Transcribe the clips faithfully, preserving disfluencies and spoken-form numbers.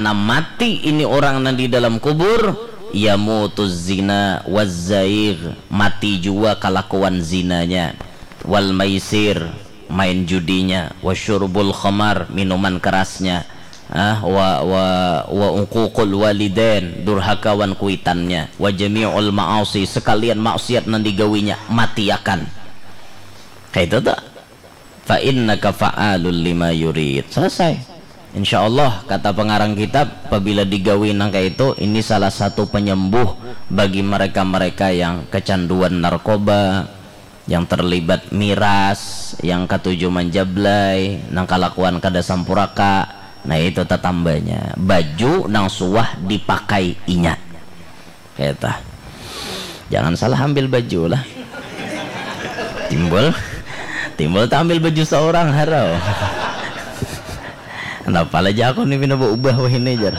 Nah, mati ini orang nang di dalam kubur, yamutuz zina wazzaigh, mati jua kalakuan zinanya, wal maisir, main judinya, wa syurbul khamar, minuman kerasnya, ah, wa wa wa uququl walidain, durhaka wan kuitannya, wa jami'ul ma'asi, sekalian maksiat nang digawinya, matiakan. Kayak itu tuh. Fa innaka fa'alul lima yurid. Selesai. Insya Allah, kata pengarang kitab, apabila digawi nang kayak itu, ini salah satu penyembuh bagi mereka-mereka yang kecanduan narkoba, yang terlibat miras, yang katuju manjablai, nang kalakuan kada sampuraka. Nah, itu tatambanya. Baju nang suah dipakai inya. Keta. Jangan salah ambil baju lah. Timbul, timbul tak ambil baju seorang, harau. Kenapa lah aku ni pina berubah wah ini, jar.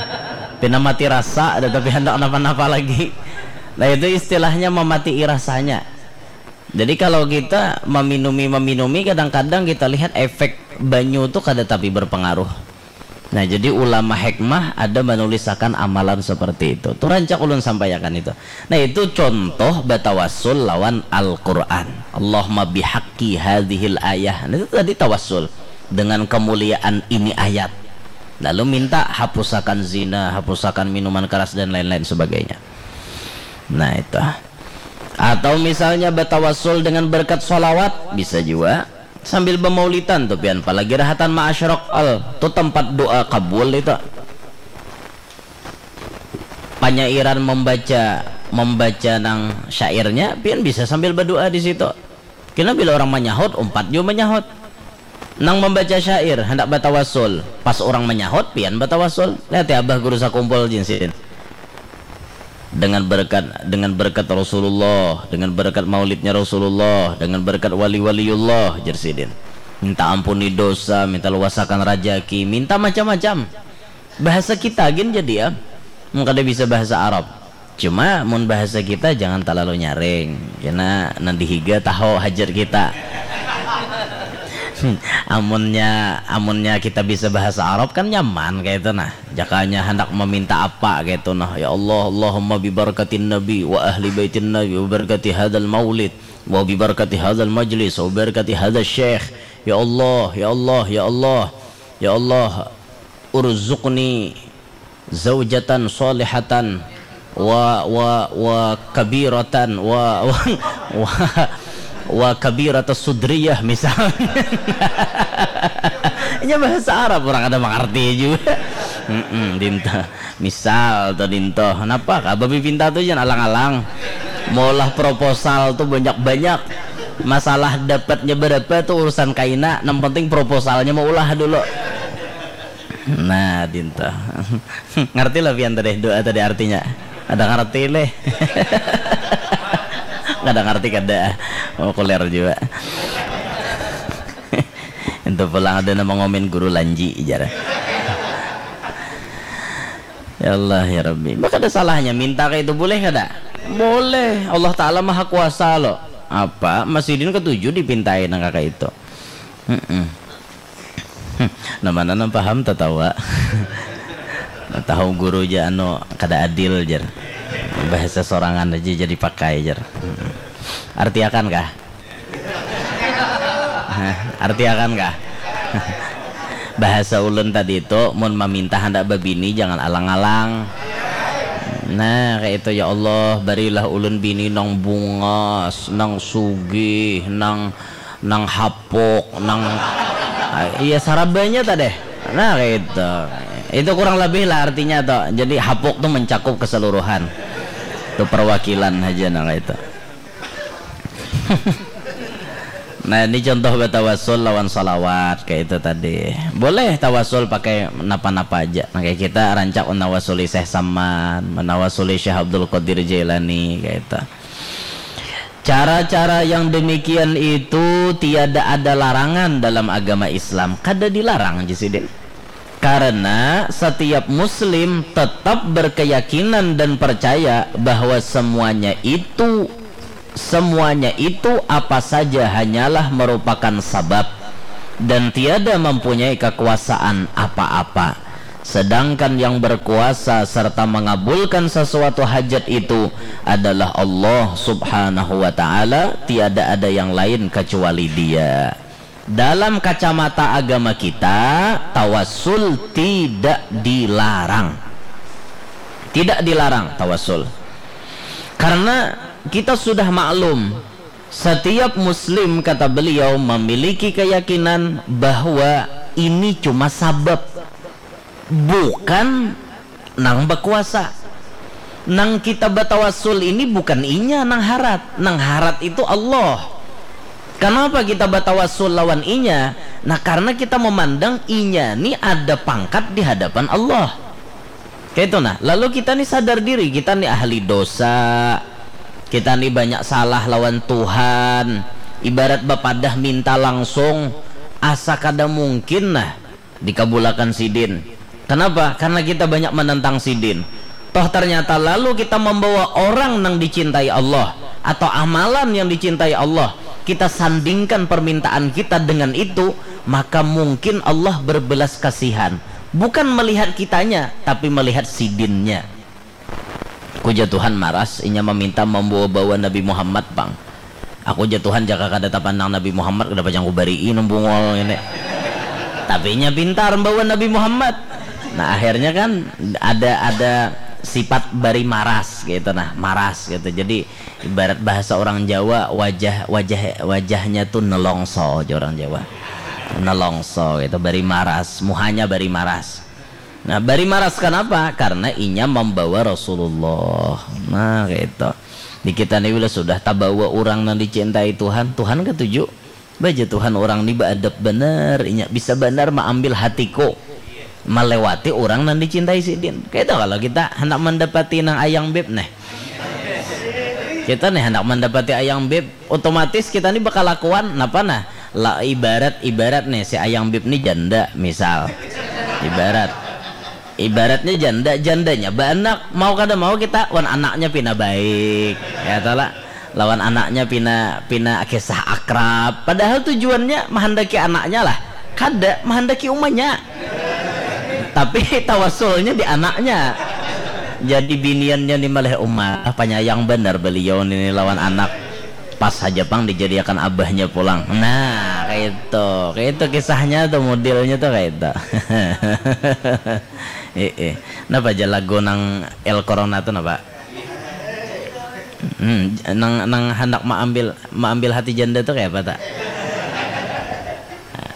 Pina mati rasa, ada tapi hendak napa-napa lagi. Nah, itu istilahnya memati rasanya. Jadi, kalau kita meminumi-meminumi, kadang-kadang kita lihat efek banyu tu kada tapi berpengaruh. Nah, jadi ulama hikmah ada menulisakan amalan seperti itu. Tu rancak ulun sampaiakan itu. Nah, itu contoh batawasul lawan Al-Quran. Allahumma bihaqqi hadhil ayah. Nah, itu tadi tawasul dengan kemuliaan ini ayat. Lalu minta hapusakan zina, hapusakan minuman keras dan lain-lain sebagainya. Nah, itu. Atau misalnya batawasul dengan berkat sholawat, bisa juga. Sambil bamaulitan tu pian, apalagi rahatan ma'asyrok al, tu tempat doa kabul itu. Panyairan membaca, membaca nang syairnya, pian bisa sambil berdoa di situ. Kena bila orang menyahut, umpat juga menyahut. Nang membaca syair, hendak batawasul. Pas orang menyahut, pian batawasul. Lihat ya, Abah Guru Sakumpul, jinsin. Dengan berkat, dengan berkat Rasulullah, dengan berkat maulidnya Rasulullah, dengan berkat wali-waliullah, jer sidin. Minta ampuni dosa, minta luasakan rajaki, minta macam-macam. Bahasa kita gin jadi ya. Mun kada bisa bahasa Arab. Cuma mun bahasa kita jangan terlalu nyaring. Kena nang dihiga tahu hajat kita. Amunnya, amunnya kita bisa bahasa Arab kan nyaman kayak itu nah. Jakanya hendak meminta apa gitu nah, ya Allah, Allahumma bibarakatin Nabi wa ahli baitin Nabi wa barakati hadal maulid wa bibarakati hadal majlis wa barakati hadal syekh. Ya Allah, ya Allah, ya Allah, ya Allah, urzuqni zaujatan salihatan wa wa wa kabiratan wa wa wa, wa kabirata sudriyah misalnya. Ini bahasa Arab, orang ada mengerti juga. Mm-mm, dinta. Misal tuh dinto, kenapa kah babi pinta tuh jangan alang-alang. Maulah proposal tuh banyak-banyak. Masalah dapatnya berapa tuh urusan kaina, yang penting proposalnya mau ulah dulu. Nah, dinto. Ngerti lah pian tadi doa tadi artinya. Ada ngerti leh. Nggak ada ngerti kada. Oh, kuler juga. Itu pulang ada nama ngomen guru lanji, jar. Ya Allah, ya Rabbi. Maka ada salahnya minta kayak itu, boleh kada? Boleh. Allah Ta'ala maha kuasa loh. Apa? Masjidin ketujuh dipintai nang kakak itu. Mm-mm. Nah, mana nang paham tatawa. Nah, tahu guru ja anu kada adil, jar. Bahasa sorangan aja jadi pakai, jar. Mm-mm. Artiakan kah? Hah, artiakan kah? Bahasa ulun tadi itu, mun maminta handak babini jangan alang-alang. Nah, kayak itu, ya Allah, barilah ulun bini nang bungas, nang sugih, nang nang hapuk, nang, ah, iya, sarabanya tadeh. Nah, kayak itu. Itu kurang lebih lah artinya tuh. Jadi hapuk tuh mencakup keseluruhan. Itu perwakilan aja nah kayak itu. Nah, ini contoh batawasul lawan salawat kayak itu tadi. Boleh tawasul pakai napa-napa aja. Nah, kayak kita rancak menawasuli Syekh Saman, menawasuli Syekh Abdul Qadir Jailani kayak itu. Cara-cara yang demikian itu tiada ada larangan dalam agama Islam. Kada dilarang, ji sidin. Karena setiap muslim tetap berkeyakinan dan percaya bahwa semuanya itu, semuanya itu apa saja hanyalah merupakan sabab dan tiada mempunyai kekuasaan apa-apa. Sedangkan yang berkuasa serta mengabulkan sesuatu hajat itu adalah Allah Subhanahu wa Ta'ala, tiada ada yang lain kecuali Dia. Dalam kacamata agama kita, tawassul tidak dilarang. Tidak dilarang tawassul. Karena kita sudah maklum, setiap muslim, kata beliau, memiliki keyakinan bahwa ini cuma sabab, bukan nang bakuasa. Nang kita batawasul ini bukan inya nang harat, nang harat itu Allah. Kenapa kita batawasul lawan inya? Nah, karena kita memandang inya ni ada pangkat di hadapan Allah. Kayak itu nah. Lalu kita ni sadar diri, kita ni ahli dosa. Kita ni banyak salah lawan Tuhan. Ibarat bapadah minta langsung, asa kada mungkin nah dikabulakan sidin. Kenapa? Karena kita banyak menentang sidin. Toh ternyata lalu kita membawa orang yang dicintai Allah atau amalan yang dicintai Allah, kita sandingkan permintaan kita dengan itu, maka mungkin Allah berbelas kasihan. Bukan melihat kitanya, tapi melihat sidinnya. Aku ja Tuhan maras, inya meminta membawa bawa Nabi Muhammad pang. Aku ja Tuhan jaka kada tapandang Nabi Muhammad, kada pacang kubarii nang bungol ini. Tapi inya pintar membawa Nabi Muhammad. Nah, akhirnya kan ada ada sifat bari maras gitu nah, maras gitu. Jadi ibarat bahasa orang Jawa, wajah wajah wajahnya tuh nelongso aja orang Jawa. Nelongso gitu, bari maras, muhanya bari maras. Nah, bari maras kenapa? Karena inya membawa Rasulullah. Nah, gitu. Di kita ni bila sudah tabawa orang yang dicintai Tuhan, Tuhan ketuju. Baja Tuhan orang ni beadab benar, inya bisa benar mengambil hatiku melewati orang yang dicintai sidin. Kayak itu kalau kita hendak mendapati nang ayang beb nih. Kita nih hendak mendapati ayang beb, otomatis kita ni bakalakuan napa nah? La, ibarat ibarat nih si ayang bib ni janda misal. Ibarat ibaratnya janda, jandanya baanak, mau kada mau kita wan anaknya pina baik ya tala, lawan anaknya pina pina kisah akrab, padahal tujuannya mahandaki anaknya lah, kada mahandaki umanya. Tapi tawasulnya di anaknya. Jadi biniannya ni malih umah, panyayang banar beliau nini lawan anak. Pas haja pang dijadiakan abahnya pulang. Nah, kaitu. Kaitu kisahnya tuh, modelnya tuh kaitu. Heeh. Napa aja lagu nang El Corona tuh napa? Hmm, nang nang handak maambil maambil hati janda tuh kayak apa tak?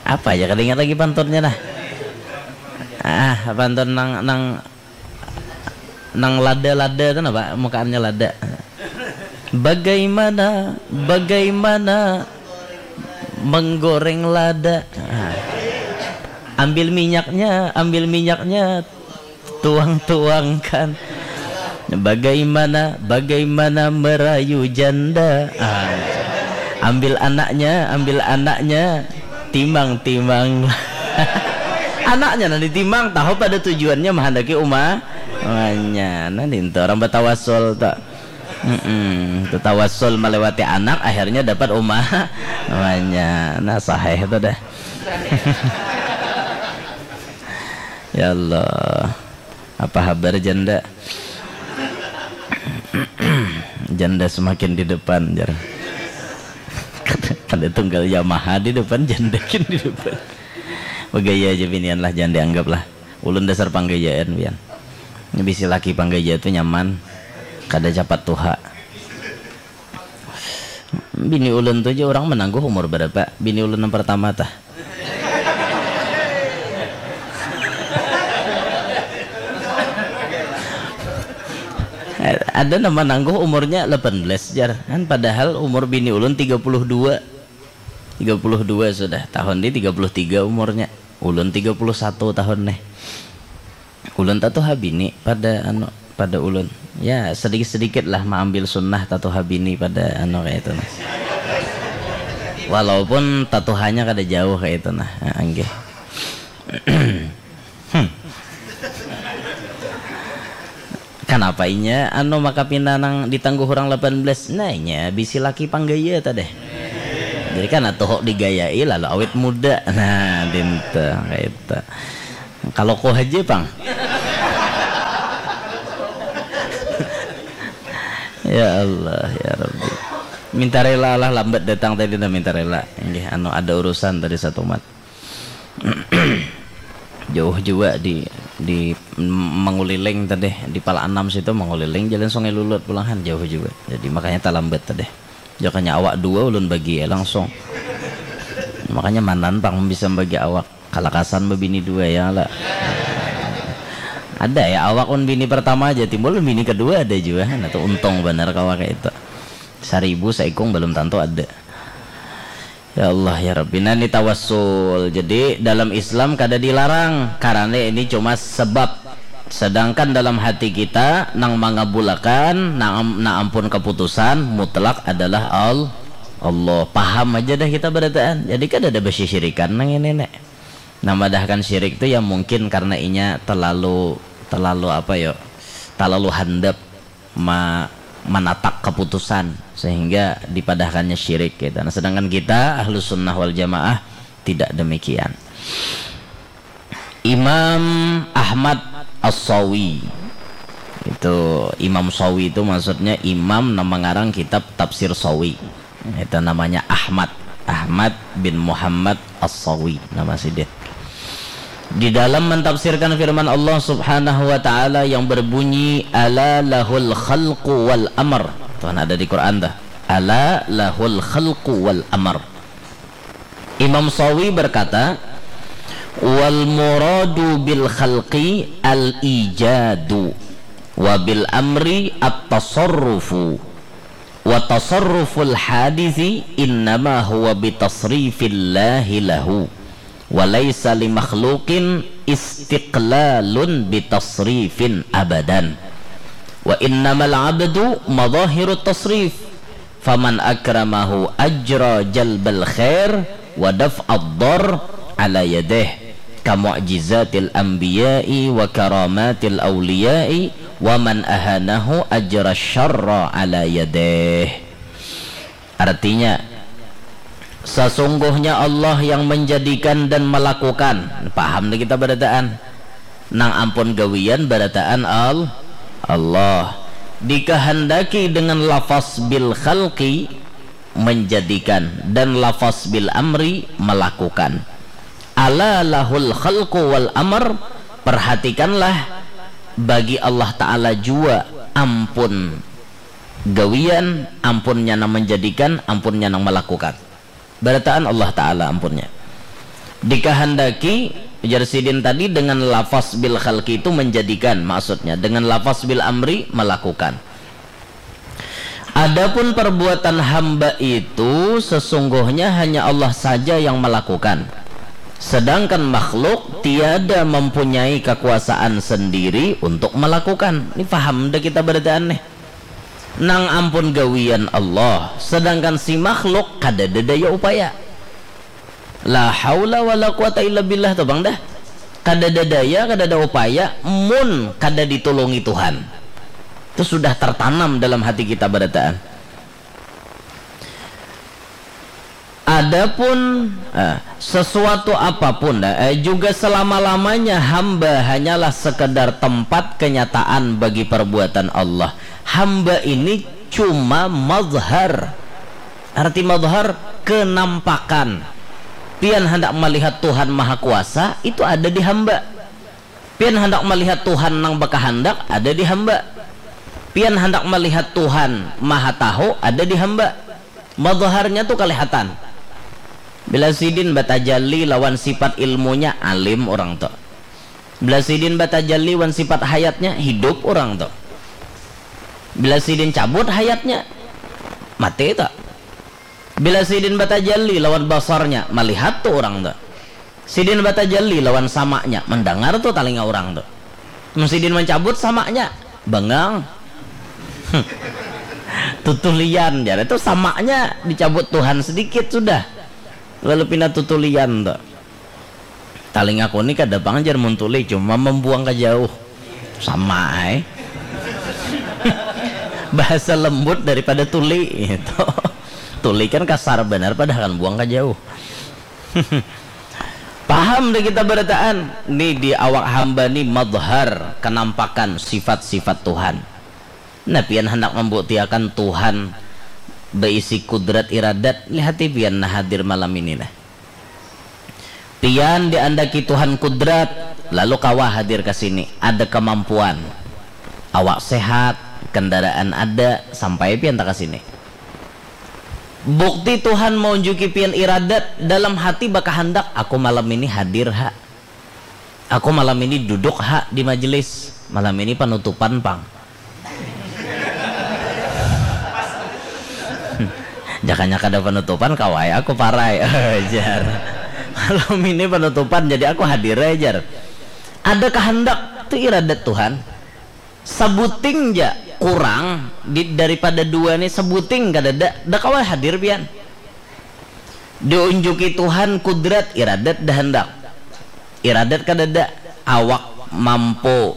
Apa aja kada ingat lagi pantunnya dah. Ah, pantun nang nang nang lada-lada tuh napa? Mukaannya lada. Bagaimana, bagaimana menggoreng lada? Ah. Ambil minyaknya, ambil minyaknya, tuang-tuangkan. Bagaimana, bagaimana merayu janda? Ah. Ambil anaknya, ambil anaknya, timang-timang. Anaknya nanti timang, tahu pada tujuannya menghendaki uma. Wanya, nanti orang batawasul tak. Mm-mm. Tetawasul melewati anak, akhirnya dapat uma. Wanya, nah sahih itu dah. Ya Allah, apa habar janda? Janda semakin di depan, jar. Kada tunggal Yamaha di depan, janda kin di depan. Begaya aja binian lah, jangan dianggap lah. Ulun dasar panggayaan, pian. Bisi laki panggaya tu nyaman, kada capat tuha. Bini ulun tu ja urang manangguh umur barapa? Bini ulun nang partama tah. Ada nang manangguh umurnya lapan belas jar, kan padahal umur bini ulun tiga puluh dua. Tiga puluh dua sudah, tahun ni tiga puluh tiga umurnya. Ulun tiga puluh satu tahun nih. Ulun tatuha bini pada anu, pada ulun. Ya, sedikit-sedikit lah maambil sunnah tatuha bini pada anu kaya itu nah. Walaupun tatuhanya kada jauh kaya itu nah. Ah, nggih. Hmm. Kanapa inya anu maka pina nang ditangguh urang lapan belas? Nah, inya bisi laki panggaya tadeh. Jadi kana tuhuk digayai lalu awet muda. Nah, dintu kaitu. Kalau ku haja pang. Ya Allah, ya Rabbi. Minta rela lah lambat datang tadi dah, minta rela. Inggih, anu, ada urusan tadi satumat. Jauh jua di, di Manguliling tadi, di Pala Anam situ Manguliling, jalan Sungai Lulut pulang han, jauh jua. Jadi makanya talambat tadi. Jakanya awak dua ulun bagi ya langsung. Makanya manan pang bisa bagi awak. Kalakasan bebini dua ya lah. Ada ya awak un bini pertama aja timbul bini kedua ada jua. Nah tuh untung benar kawa kayak itu. Saribu saikung belum tentu ada. Ya Allah ya Rabbi. Nah ini tawassul. Jadi dalam Islam kada dilarang karena ini cuma sebab. Sedangkan dalam hati kita nang mangabulakan, nang, nang ampun keputusan mutlak adalah Al-, Allah. Paham aja dah kita barataan. Jadi kada ada basisirikan nang ini nek. Nah, madahkan syirik tu ya mungkin karena inya terlalu, terlalu apa yo, terlalu handap ma-, manatak keputusan sehingga dipadahkannya syirik gitu. Nah, sedangkan kita ahlus sunnah wal jamaah tidak demikian. Imam Ahmad As-Sawi itu, Imam Sawi itu maksudnya imam nama ngarang kitab tafsir Sawi. Itu namanya Ahmad, Ahmad bin Muhammad As-Sawi nama sidin. Di dalam mentafsirkan firman Allah Subhanahu wa taala yang berbunyi ala lahul khalqu wal amr. Tuhan ada di Quran dah. Ala lahul khalqu wal amr. Imam Sawi berkata, wal muradu bil khalqi al ijadu wa bil amri at tasarrufu. Wa tasarruful hadisi innama huwa bitasrifillahi lahu wa laisa li makhluqin istiqlalun bitasrifin abadan. Wa innamal abdu madhahirut tasrif faman akramahu ajra jalbal khair wa daf'ad dhar ala yadih ka mu'jizatil anbiya'i wa karamatil awliya'i wa man ahanahu ajra syarra ala yadih. Artinya, sesungguhnya Allah yang menjadikan dan melakukan. Paham nih kita barataan. Nang ampun gawian barataan Al-, Allah. Dikehendaki dengan lafaz bil khalqi menjadikan dan lafaz bil amri melakukan. Ala lahul khalqu wal amr, perhatikanlah bagi Allah Ta'ala jua ampun gawian, ampunnya nang menjadikan, ampunnya nang melakukan. Barataan Allah Ta'ala ampunnya. Dikahandaki, ujar sidin tadi dengan lafaz bil khalqi itu menjadikan, maksudnya dengan lafaz bil amri melakukan. Adapun perbuatan hamba itu sesungguhnya hanya Allah saja yang melakukan. Sedangkan makhluk tiada mempunyai kekuasaan sendiri untuk melakukan. Ini paham dah kita barataan nih. Nang ampun gawian Allah, sedangkan si makhluk kadada daya upaya. La haula wala quwata illa billah tuh bang dah. Kadada daya, kadada upaya, mun kada ditulungi Tuhan. Itu sudah tertanam dalam hati kita barataan. Adapun eh, sesuatu apapun eh, juga selama-lamanya hamba hanyalah sekedar tempat kenyataan bagi perbuatan Allah. Hamba ini cuma mazhar. Arti mazhar kenampakan. Pian hendak melihat Tuhan Maha Kuasa itu ada di hamba. Pian hendak melihat Tuhan nang bakahandak ada di hamba. Pian hendak melihat Tuhan Maha Tahu ada di hamba. Mazharnya tu kelihatan. Bila sidin batajalli lawan sifat ilmunya alim orang tu. Bila sidin batajalli wan sifat hayatnya hidup orang tu. Bila sidin cabut hayatnya mati tu. Bila sidin batajalli lawan basarnya malihat tu orang tu. Sidin batajalli lawan samanya mandangar tu talinga orang tu. Mun sidin mancabut samanya bangang. Tutulian jar itu samanya dicabut Tuhan sedikit sudah. Lalu pina tutulian tu. Talingaku ni kada pang jar mun tuli cuma membuang ka jauh. Sama ai. Bahasa lembut daripada tuli itu. Tuli kan kasar banar padahal kan buang ka jauh. Paham dah kita barataan. Ni di awak hamba ni madhar kenampakan sifat-sifat Tuhan. Nah, pian handak mambuktiakan Tuhan baisi kudrat iradat, lihati pian nah hadir malam ini nah. Pian diandaki Tuhan kudrat, lalu kawa hadir ka sini, ada kamampuan. Awak sehat, kendaraan ada, sampai pian ta ka sini. Bukti Tuhan maunjuki pian iradat, dalam hati bakahandak, aku malam ini hadir ha. Aku malam ini duduk ha di majelis, malam ini panutupan pang. Jakanya kada panutupan, kawa ai aku parai. Jar. Malam ini panutupan, jadi aku hadir ai, jar. Ada kahandak, tu iradat Tuhan. Sabuting ja kurang di, daripada dua ni, sabuting kadada, da kawa hadir pian. Diunjuki Tuhan kudrat, iradat da handak. Iradat kadada, awak mampu.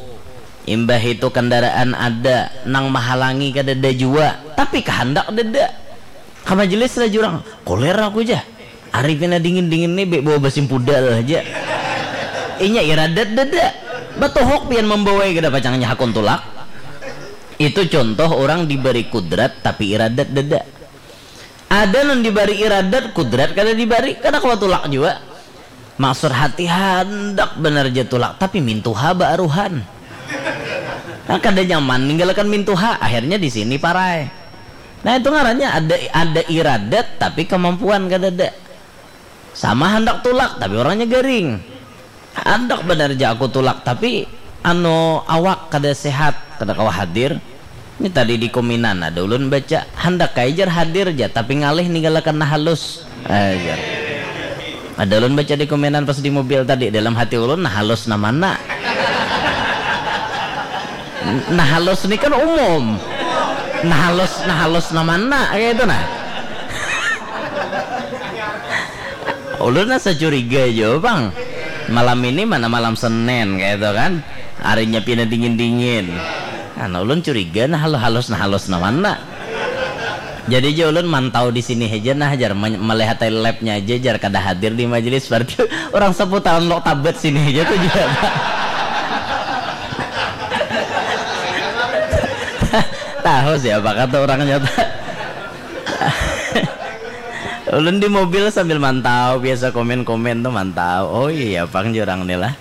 Imbah itu kendaraan ada, nang mahalangi kadada jua, tapi kahandak dada. Ka majelis lah jurang, kuler aku ja. Ari pina dingin-dingin ni, bek bawa basim pudal haja. Inya iradat dada. Batuhuk pian mambawai kada pacangnya hakun tulak. Itu contoh orang dibari kudrat tapi iradat dada. Ada nang dibari iradat, kudrat kada dibari, kada kawa tulak jua. Maksud hati handak banar ja tulak, tapi mintuha baaruhan. Nah, kada nyaman ninggalakan mintuha, akhirnya di sini parai. Nah, itu ngarannya ada, ada iradat tapi kemampuan kadada. Sama handak tulak tapi orangnya garing. Handak banar ja aku tulak tapi anu awak kada sehat, kada kawa hadir. Ini tadi di kominan ada ulun baca, handak ai jar hadir ja tapi ngalih ninggalakan nah halus. Eh, jar. Ada ulun baca di kominan pas di mobil tadi, dalam hati ulun nah halus nah mana. Nah halus ni kan umum. Nah halus, nah halus nah mana, kayak itu nah. Ulun asa curiga jua pang. Malam ini mana malam Senin kayak itu kan. Harinya pina dingin-dingin. Nah, ulun curiga nah halus, halus nah halus nah mana. Jadi ja ulun mantau di sini haja nah, jar, me-, melihat labnya aja, jar, kada hadir di majelis, berarti orang seputaran Lok Tabat sini aja tuh juga. Tahu siapa kata orangnya tuh. Ulun di mobil sambil mantau, biasa komen-komen tuh mantau. Oh iya, pang jurang nih lah.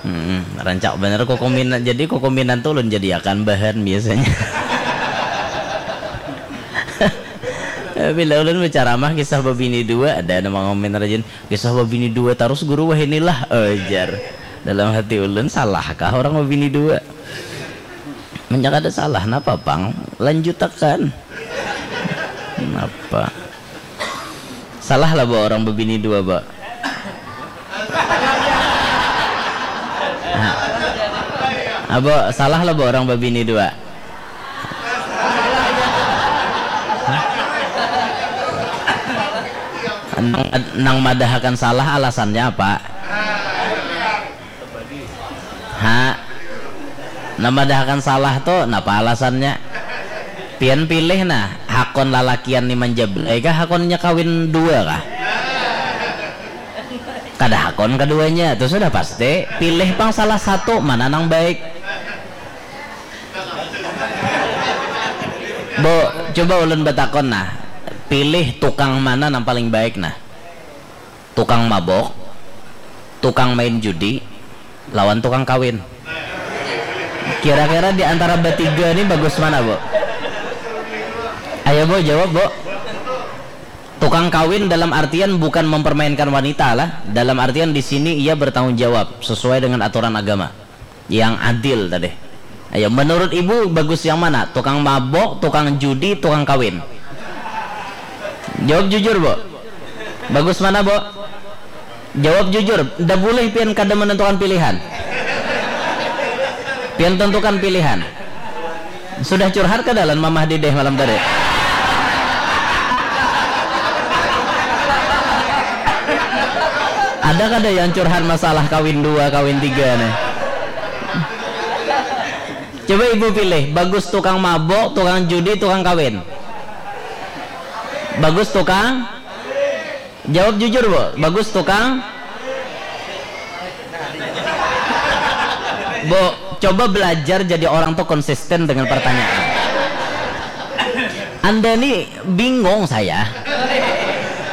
Hmm, rancak bener kokominan. Jadi kokominan tuh ulun jadiakan bahan biasanya. Bila ulun berceramah kisah babini dua, ada nama ngomen rajin, "Kisah babini dua terus guru wah inilah," ujar. Dalam hati ulun, salahkah orang babini dua? Menyak ada salah napa pang? Lanjutakan. Napa? Salah lah, Bo, orang babini dua, Bo. Nah. Ah, Bo, salah lah, Bo, orang babini dua. Nang, nang madahakan salah alasannya apa? Ha. Namadahakan salah tu napa alasannya? Pian pilih nah, hakon lalakian ni manjabrai kah, hakonnya kawin dua kah? Kada hakon kaduanya, tu sudah pasti. Pilih pang salah satu, mana nang baik. Bu, coba ulun batakon nah, pilih tukang mana nang paling baik nah? Tukang mabok, tukang main judi, lawan tukang kawin. Kira-kira di antara batiga ni bagus mana, Bu? Ayo, Bu, jawab, Bu. Tukang kawin dalam artian bukan mempermainkan wanita lah. Dalam artian di sini ia bertanggung jawab sesuai dengan aturan agama. Yang adil tadi. Ayo, menurut ibu bagus yang mana? Tukang mabok, tukang judi, tukang kawin? Jawab jujur, Bu. Bagus mana, Bu? Jawab jujur. Nda boleh pian kada menentukan pilihan. Pian tentukan pilihan. Sudah curhat kada lawan mamah dideh malam tadi? Ada kada yang curhat masalah kawin dua, kawin tiga nih? Coba ibu pilih, bagus tukang mabok, tukang judi, tukang kawin? Bagus tukang? Jawab jujur, Bu. Bagus tukang? Bu, coba belajar jadi orang tuh konsisten dengan pertanyaan. Anda ni bingung saya.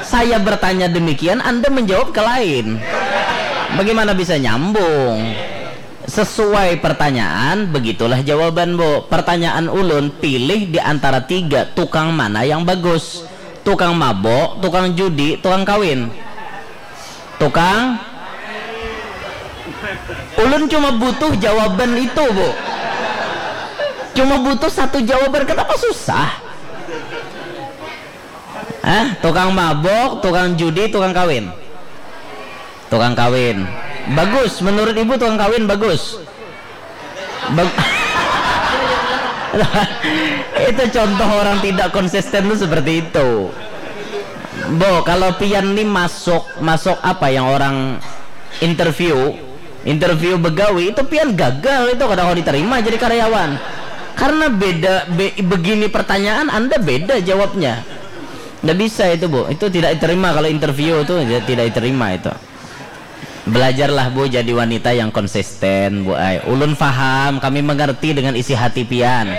Saya bertanya demikian, Anda menjawab ke lain. Bagaimana bisa nyambung? Sesuai pertanyaan, begitulah jawaban, Bu. Pertanyaan ulun, pilih di antara tiga, tukang mana yang bagus? Tukang mabok, tukang judi, tukang kawin. Tukang, ulun cuma butuh jawaban itu, Bu. Cuma butuh satu jawaban, kenapa susah? Hah? Tukang mabok, tukang judi, tukang kawin. Tukang kawin. Bagus, menurut ibu tukang kawin bagus. Bag- itu contoh orang tidak konsisten tuh seperti itu. Bo, kalau pian nih masuk, masuk apa yang orang interview, interview begawi itu pian gagal itu, kadang kau diterima jadi karyawan. Karena beda, be- begini pertanyaan, Anda beda jawabnya. Nggak bisa itu, Bu. Itu tidak diterima kalau interview itu, ya, tidak diterima itu. Belajarlah, Bu, jadi wanita yang konsisten, Bu ai. Ulun faham, kami mengerti dengan isi hati pian.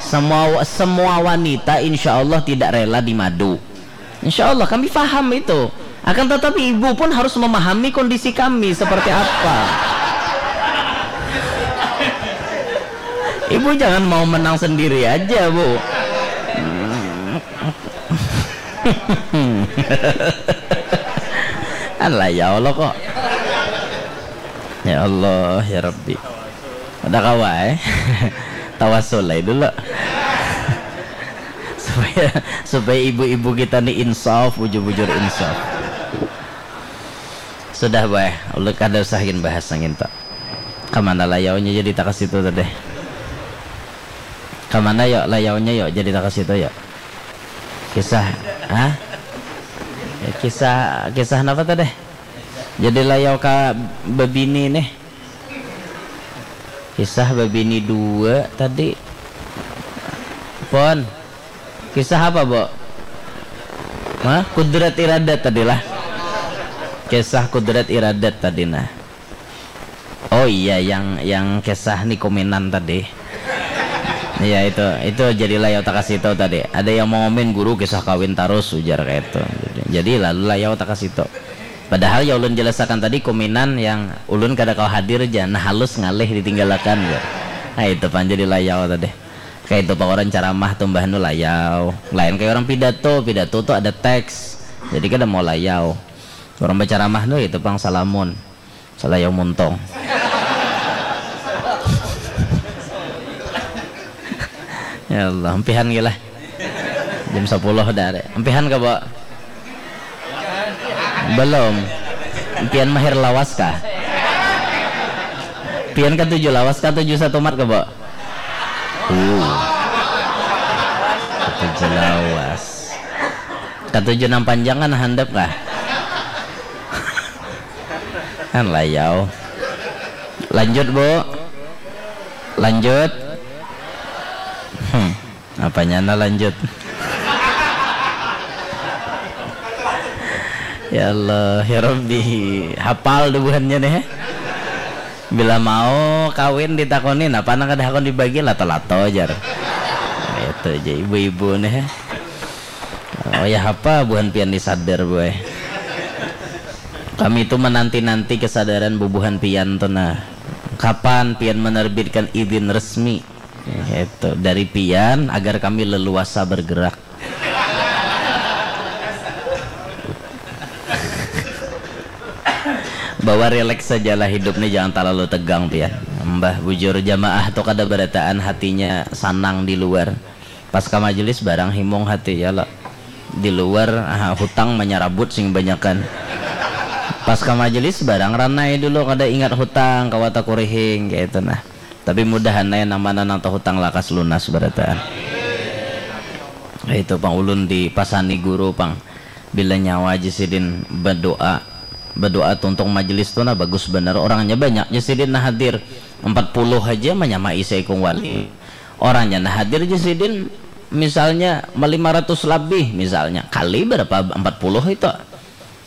Semua semua wanita insya Allah tidak rela dimadu. Insya Allah kami faham itu. Akan tetapi ibu pun harus memahami kondisi kami seperti apa. Ibu jangan mau menang sendiri aja, Bu. Alah, ya Allah kok. Ya Allah, ya Rabbi. Ada kawa eh. Tawasul aja dulu. Supaya supaya ibu-ibu kita nih insaf, bujur-bujur insaf. Sudah, bah. Ulun kada usah gin bahas nang itu. Kamana layaunya jadi takas itu tadi? Kamana yo layaunya yo jadi takas itu yo? Kisah, hah? Ya, kisah kisah napa tadi? Jadi layau ka bebini nih. Kisah bebini dua tadi. Pon. Kisah apa, Bo? Hah? Kudrat iradat tadi lah. Kisah kudrat iradat tadi nah. Oh iya, yang yang kisah ni kuminan tadi. Iya itu, itu jadi layau takasito tadi. Ada yang mau ngomen guru kisah kawin tarus ujar kayak itu. Jadi lalu layau takasito. Padahal ya ulun jelasakan tadi kuminan yang ulun kada kawa hadir ja, nah halus ngalih ditinggalakan ja. Nah itu pang jadi layau tadi. Kayak itu pang orang ceramah tumbah nu layau. Lain kayak orang pidato, pidato tuh ada teks. Jadi kada mau layau. Orang berceramah nu itu pang salamun. Salayau muntong. Ya Allah, empihan gila. Jam sepuluh dah. Empihan ke, Bo? Belum. Empihan mahir lawas kah? Pian katuju lawas kah tuju satumat ke, Bo? Uh. Katuju lawas. Katuju nang panjang kan handap kah? Kan layau. Lanjut, Bu. Lanjut. Hmm. Apanya na lanjut? Ya Allah, ya Rabbi. Hafal dubuhannya nih. Bila mau kawin ditakoni, napa nang kada hakun dibagi, lato-lato jar. Itu aja ibu-ibu nih. Oh ya apa buhan pian ni sadar, boy. Kami itu menanti-nanti kesadaran bubuhan pian tuh nah. Kapan pian menerbitkan izin resmi? Itu dari pian agar kami leluasa bergerak. Bahwa relax sajalah hidup ni, jangan terlalu tegang pian. Mbah bujur jamaah tu kada berataan hatinya sanang di luar. Pas ka majelis barang himung hati ya lo. Di luar ah, hutang menyerabut sing banyakan. Pas ka majelis barang ranai dulu kada ingat hutang kawa takurihing kayak itu nah. Tapi mudahan naya nang mana nang tahutang lakas lunas barataan. Itu pang ulun dipasani guru pang. Bila nyawa aja sidin berdoa, berdoa tuntung majelis tu nah bagus benar. Orangnya banyak aja sidin nah hadir. Empat puluh aja menyamai seikung wali. Orangnya nah hadir aja sidin misalnya lima ratus lebih misalnya. Kali berapa empat puluh itu?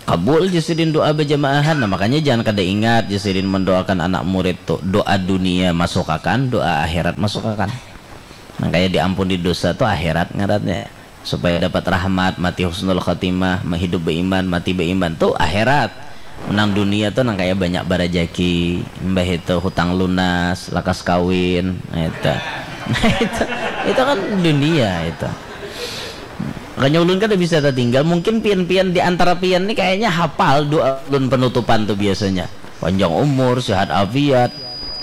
Kabul ja sidin doa bajamaahan. Nah, makanya jangan kada ingat ja sidin mendoakan anak murid tu. Doa dunia masukakan, doa akhirat masukakan. Nang kaya diampuni dosa tu akhirat ngarannya. Supaya dapat rahmat, mati husnul khotimah, hidup beiman, mati beiman tu akhirat. Nang dunia tu nang kaya banyak barajaki, imbah itu hutang lunas, lakas kawin, itu. Nah, itu, itu kan dunia itu. Makanya ulun kada bisa tertinggal. Mungkin pian-pian di antara pian ni kayaknya hapal doa ulun penutupan tu biasanya. Panjang umur, sehat afiat,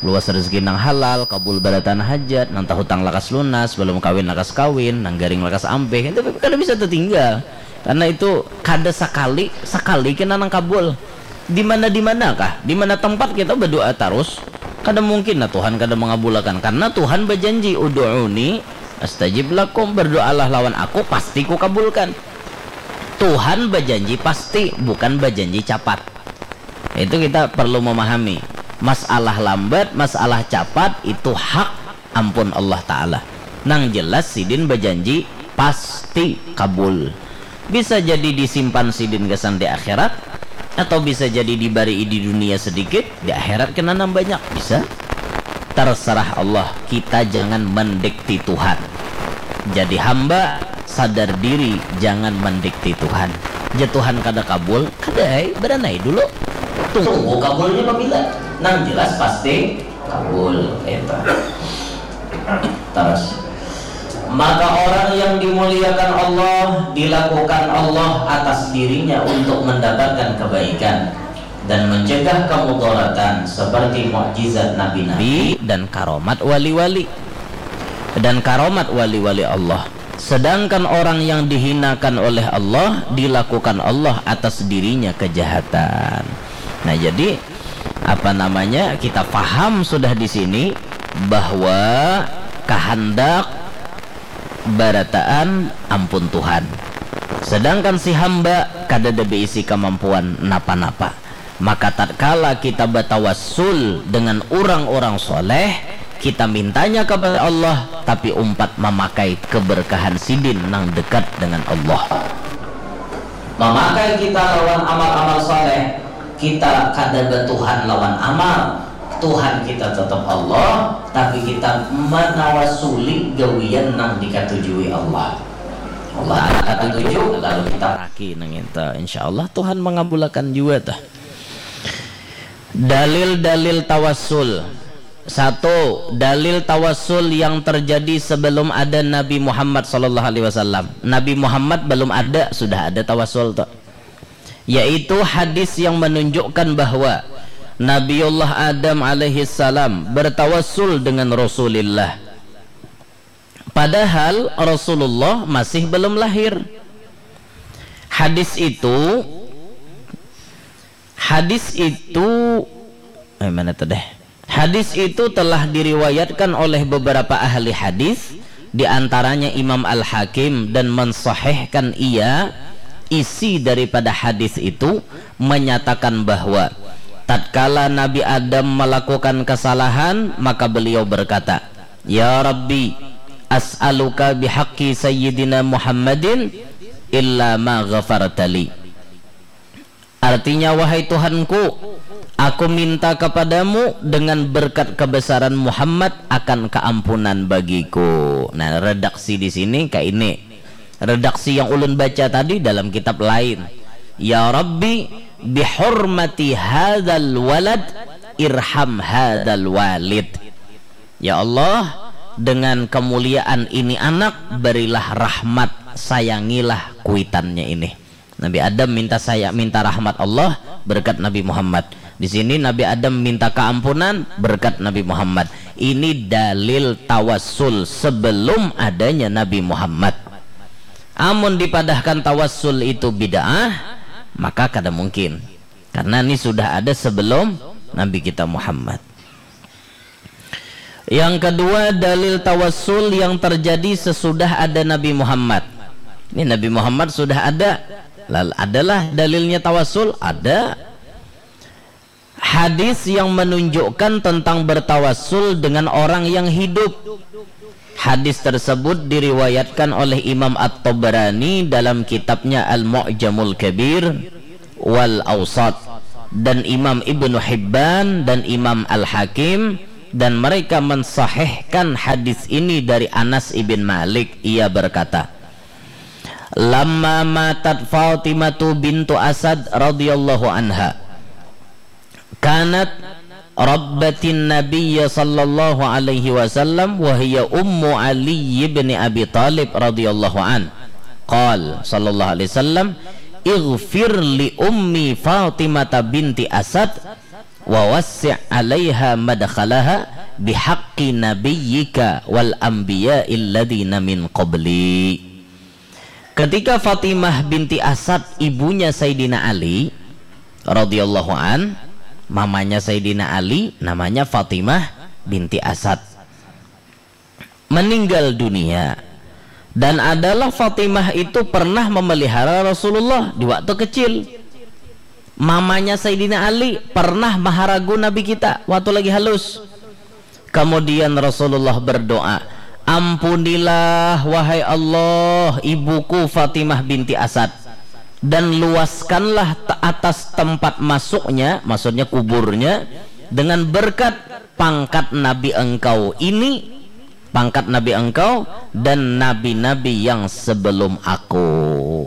luas rezeki nang halal, kabul barataan hajat, nang tahutang lakas lunas, balum kawin lakas kawin, nang garing lakas ampih, itu kada bisa tertinggal. Karena itu kada sakali, sakali kena nang kabul. Di mana di mana kah? Di mana tempat kita berdoa terus? Kada mungkin nah Tuhan kada mengabulakan. Karena Tuhan berjanji, "Udu'uni astajib lakum, berdoalah lawan aku, pasti kukabulkan." Tuhan berjanji pasti, bukan berjanji capat. Itu kita perlu memahami. Masalah lambat, masalah capat, itu hak ampun Allah Ta'ala. Nang jelas sidin berjanji pasti kabul. Bisa jadi disimpan sidin gasan di akhirat, atau bisa jadi dibari di dunia sedikit, di akhirat kena nang banyak. Bisa. Terserah Allah, kita jangan mendikti Tuhan. Jadi hamba, sadar diri, jangan mendikti Tuhan. Je Tuhan kada kabul, kada ai, beranai dulu. Tunggu kabulnya pabila. Nang jelas pasti kabul, itu. Terus, maka orang yang dimuliakan Allah, dilakukan Allah atas dirinya untuk mendapatkan kebaikan dan mencegah kemudaratan seperti mukjizat nabi-nabi dan karomat wali-wali. Dan karomat wali-wali Allah. Sedangkan orang yang dihinakan oleh Allah, dilakukan Allah atas dirinya kejahatan. Nah, jadi apa namanya, kita paham sudah di sini bahwa kahandak barataan ampun Tuhan. Sedangkan si hamba kadada beisi kemampuan napa-napa. Maka tatkala kita batawassul dengan urang-urang soleh, kita mintanya kepada Allah, tapi umpat mamakai keberkahan sidin nang dekat dengan Allah. Mamakai kita lawan amal-amal soleh, kita kada batuhan lawan amal. Tuhan kita tetap Allah, tapi kita manawasuli gawian nang dikatujui Allah. Allah ada katuju, lalu kita raki nang itu. Insya Allah Tuhan mengabulakan jua tuh. Dalil-dalil tawassul. Satu, dalil tawassul yang terjadi sebelum ada Nabi Muhammad sallallahu alaihi wasallam. Nabi Muhammad belum ada, sudah ada tawassul tuh. Yaitu hadis yang menunjukkan bahwa Nabiullah Adam alaihi salam bertawassul dengan Rasulillah. Padahal Rasulullah masih belum lahir. Hadis itu, hadis itu, eh, mana tuh deh? Hadis itu telah diriwayatkan oleh beberapa ahli hadis, di antaranya Imam Al-Hakim, dan mensahihkan ia, isi daripada hadis itu menyatakan bahwa tatkala Nabi Adam melakukan kesalahan, maka beliau berkata, "Ya Rabbi, as'aluka bihaqqi Sayyidina Muhammadin illa ma ghafartali." Artinya, "Wahai Tuhanku, aku minta kepadamu dengan berkat kebesaran Muhammad akan keampunan bagiku." Nah, redaksi di sini kayak ini. Redaksi yang ulun baca tadi dalam kitab lain. "Ya Rabbi, bihurmati hadzal walad, irham hadzal walid." Ya Allah, dengan kemuliaan ini anak, berilah rahmat, sayangilah kuitannya ini. Nabi Adam minta saya, minta rahmat Allah berkat Nabi Muhammad. Di sini Nabi Adam minta keampunan berkat Nabi Muhammad. Ini dalil tawassul sebelum adanya Nabi Muhammad. Amun dipadahkan tawassul itu bid'ah, maka kada mungkin. Karena ini sudah ada sebelum Nabi kita Muhammad. Yang kedua, dalil tawassul yang terjadi sesudah ada Nabi Muhammad. Ini Nabi Muhammad sudah ada. Lal-, adalah dalilnya tawassul? Ada. Hadis yang menunjukkan tentang bertawassul dengan orang yang hidup. Hadis tersebut diriwayatkan oleh Imam At-Tabarani dalam kitabnya Al-Mu'jamul Kabir wal Awsat, dan Imam Ibnu Hibban dan Imam Al-Hakim Dan mereka mensahihkan hadis ini dari Anas ibn Malik. Ia berkata, "Lamma matat Fatimatu bintu Asad radhiyallahu anha, kanat rabbatin Nabiyya sallallahu alaihi wasallam wa hiya ummu Ali ibn Abi Talib radhiyallahu an." Qal sallallahu alaihi wasallam, "Ighfir li ummi Fatimata binti Asad wa wassi' alaiha madkhalaha bihaqqi nabiyyika wal anbiya'il ladzina min qabli." Ketika Fatimah binti Asad, ibunya Sayyidina Ali radhiyallahu an, mamanya Sayyidina Ali namanya Fatimah binti Asad, meninggal dunia. Dan adalah Fatimah itu pernah memelihara Rasulullah di waktu kecil. Mamanya Sayyidina Ali pernah maharagu Nabi kita waktu lagi halus. Kemudian Rasulullah berdoa, "Ampunilah, wahai Allah, ibuku Fatimah binti Asad, dan luaskanlah te-, atas tempat masuknya," maksudnya kuburnya, "dengan berkat pangkat Nabi engkau ini, pangkat Nabi engkau dan nabi-nabi yang sebelum aku."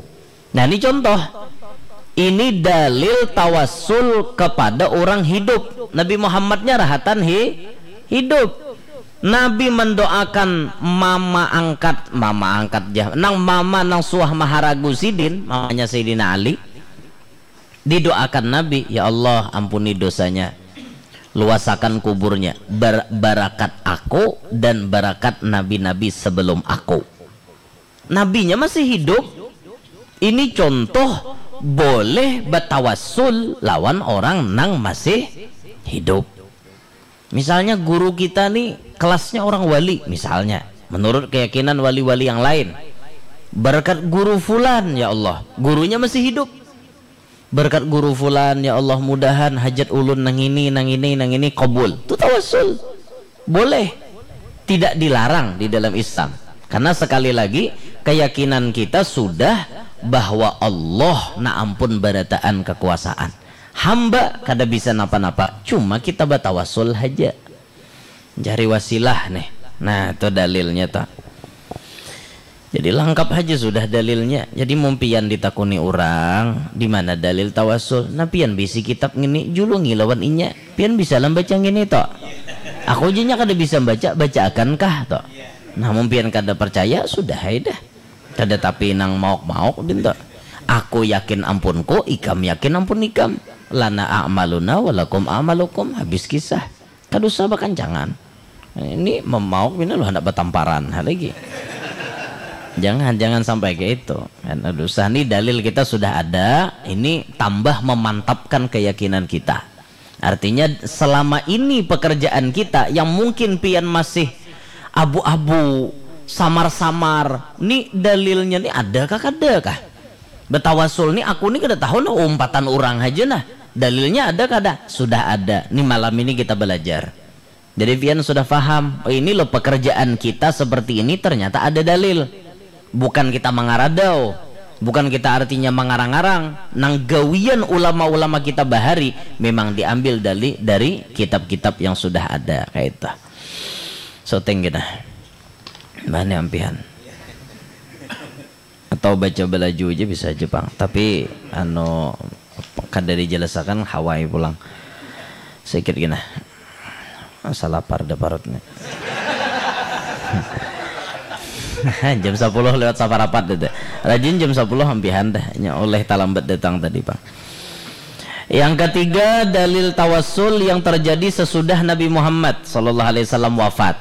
Nah, ini contoh. Ini dalil tawassul kepada orang hidup. Nabi Muhammadnya rahatan hi-, hidup. Nabi mendoakan mama angkat, mama angkat ja, nang mama nang suah maharagu sidin, mamanya Sayyidina Ali, didoakan Nabi, "Ya Allah, ampuni dosanya, luasakan kuburnya, bar-, barakat aku dan barakat nabi-nabi sebelum aku." Nabinya masih hidup. Ini contoh boleh batawassul lawan orang nang masih hidup. Misalnya guru kita nih kelasnya orang wali, misalnya, menurut keyakinan wali-wali yang lain. Berkat guru fulan, ya Allah, gurunya masih hidup. Berkat guru fulan, ya Allah, mudahan hajat ulun nang ini, nang ini, nang ini kabul. Itu tawassul. Boleh. Tidak dilarang di dalam Islam. Karena sekali lagi, keyakinan kita sudah bahwa Allah na ampun barataan kekuasaan. Hamba kada bisa napa-napa, cuma kita batawasul haja. Cari wasilah nih. Nah, itu dalilnya tuh. Jadi lengkap haja sudah dalilnya. Jadi mun pian ditakuni urang, "Di mana dalil tawasul?" Nah, pian bisi kitab ngini, julungi lawan inya. Pian bisa lah baca ngini, toh. Aku aja nya kada bisa baca, bacaakan kah, toh. Nah, mun pian kada percaya, sudah ai dah. Kada tapi nang mauk-mauk, din, toh. Aku yakin ampunku, ikam yakin ampun ikam. Lana a'maluna walakum a'malukum, habis kisah. Kada usah bakancangan. Ini memauk pina lu handak batamparan ha lagi. Jangan, jangan sampai kayak itu. Kan, aduh, sah, ni dalil kita sudah ada, ini tambah memantapkan keyakinan kita. Artinya, selama ini pekerjaan kita yang mungkin pian masih abu-abu, samar-samar, ni dalilnya ni ada kah, kada kah? Betawasul ni, aku ni kada tahu nah, umpatan urang haja nah. Dalilnya ada kada? Sudah ada. Ni malam ini kita belajar. Jadi pian sudah faham, oh, ini loh pekerjaan kita seperti ini ternyata ada dalil. Bukan kita mangaradau, bukan kita artinya mangarang-arang. Nang gawian ulama-ulama kita bahari memang diambil dari, dari kitab-kitab yang sudah ada, kayak itu. Syuting kita. Bahannya ampihan. Atau baca balaju aja bisa aja pang. Tapi, anu, kada dijelasakan, hawai pulang. Sikit gina. Asa lapar dah parut ni. Jam sapuluh lewat saparapat dah. Rajin jam sapuluh ampihan dah. Nya oleh talambat datang tadi pang. Yang ketiga, dalil tawassul yang terjadi sesudah Nabi Muhammad sallallahu alaihi wasallam wafat.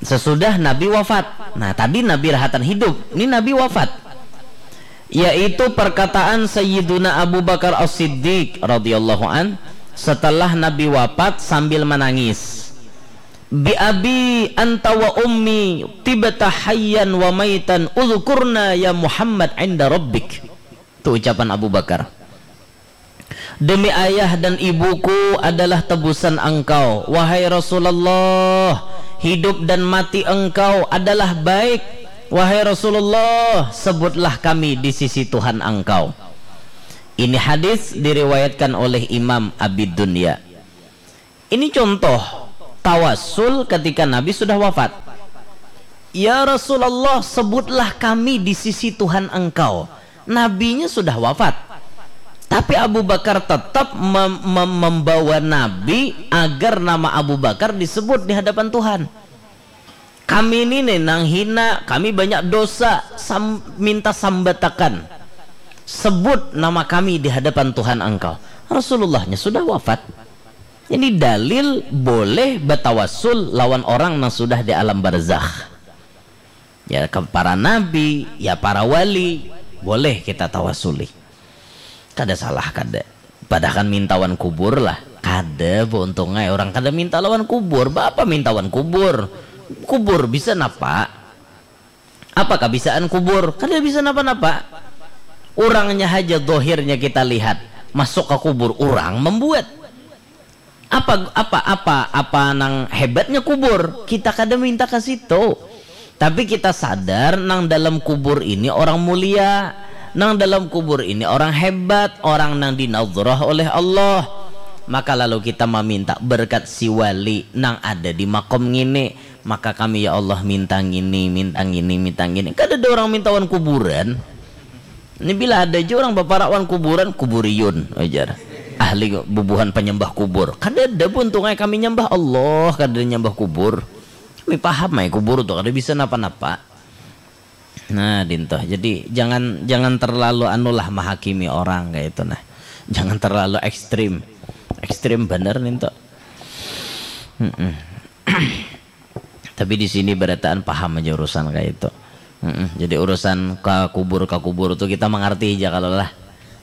Sesudah Nabi wafat. Nah, tadi Nabi rahatan hidup, ini Nabi wafat. Yaitu perkataan Sayyiduna Abu Bakar As-Siddiq radhiyallahu an setelah Nabi wafat sambil menangis. "Bi abi anta wa ummi tibta hayyan wa maitan, udhkurna ya Muhammad inda rabbik." Itu ucapan Abu Bakar. "Demi ayah dan ibuku adalah tebusan engkau, wahai Rasulullah. Hidup dan mati engkau adalah baik, wahai Rasulullah. Sebutlah kami di sisi Tuhan engkau." Ini hadis diriwayatkan oleh Imam Abi Dunya. Ini contoh. Tawasul ketika Nabi sudah wafat. Ya Rasulullah, sebutlah kami di sisi Tuhan Engkau. Nabinya sudah wafat. Tapi Abu Bakar tetap mem- mem- membawa Nabi agar nama Abu Bakar disebut di hadapan Tuhan. Kami ini nih nang hina, kami banyak dosa, sam- minta sambatakan. Sebut nama kami di hadapan Tuhan Engkau. Rasulullahnya sudah wafat. Ini dalil boleh batawasul lawan orang nang sudah di alam barzakh. Ya, ke para nabi, ya para wali, boleh kita tawasuli. Kada salah, kada. Padahal kan mintawan kubur lah. Kada, bu, untung ai orang kada minta lawan kubur. Bapa mintawan kubur? Kubur bisa napa? Apa kabisaan kubur? Kada bisa napa-napa. Urangnya haja dohirnya kita lihat. Masuk ke kubur, urang membuat. Apa apa apa apa nang hebatnya kubur? Kita kada minta ke situ. Tapi kita sadar nang dalam kubur ini orang mulia, nang dalam kubur ini orang hebat, orang nang dinadhrah oleh Allah. Maka lalu kita meminta berkat si wali nang ada di makom ngini, maka kami ya Allah minta ngini, minta ngini, minta ngini. Kada ada orang mintawan kuburan. Ini bila ada aja orang baparawan kuburan, kuburiyun, ujar. Ahli bubuhan penyembah kubur. Kada ada, buntung ai kami nyembah Allah, kada ada nyembah kubur. Kami paham ai kubur tu kada bisa napa-napa. Nah, dintoh. Jadi jangan jangan terlalu anulah mahakimi orang kayak itu nah. Jangan terlalu ekstrim. Ekstrim bener nih tuh. Tapi di sini berataan paham aja urusan kayak itu. Mm-mm. Jadi urusan ke kubur ke kubur tuh kita mengerti aja kalau lah.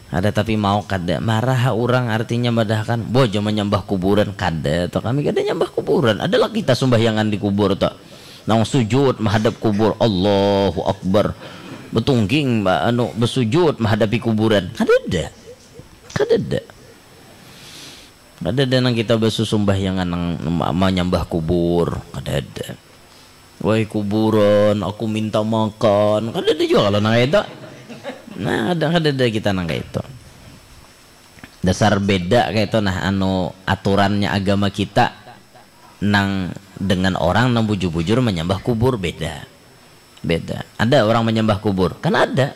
Ada tapi mau kada marah orang artinya madahkan bojo menyembah kuburan kada tuh kami kada nyembah kuburan adalah kita sembahyangan di kubur tuh nang sujud menghadap kubur Allahu Akbar betungging anu bersujud menghadapi kuburan kada ada kada ada Kada ada nang kita basusumbayangan nang ma- manyambah kubur. Kada ada. Wai kuburan, aku minta makan. Kada ada jua kalau nang kaitu. Nah, kada kada ada kita nang kaitu. Dasar beda kaitu nah anu aturannya agama kita nang dengan orang nang bujur-bujur manyambah kubur beda. Beda. Ada orang menyembah kubur. Kan ada.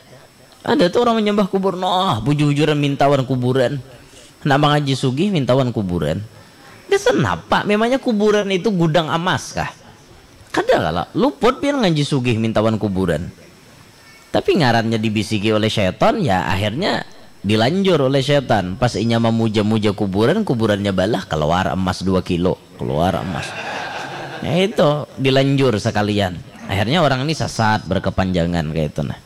Ada tuh orang menyembah kubur. Nah, bujur-bujuran mintawan kuburan. Nak mangaji sugih mintawan kuburan. Gasan napa? Memangnya kuburan itu gudang amas kah? Kada kala. Luput pian ngaji sugih mintawan kuburan. Tapi ngarannya dibisiki oleh setan, ya akhirnya dilanjur oleh setan. Pas inya memuja-muja kuburan, kuburannya balah keluar emas dua kilo. Keluar emas. Ya itu dilanjur sekalian. Akhirnya orang ini sesat berkepanjangan kayak itu nah.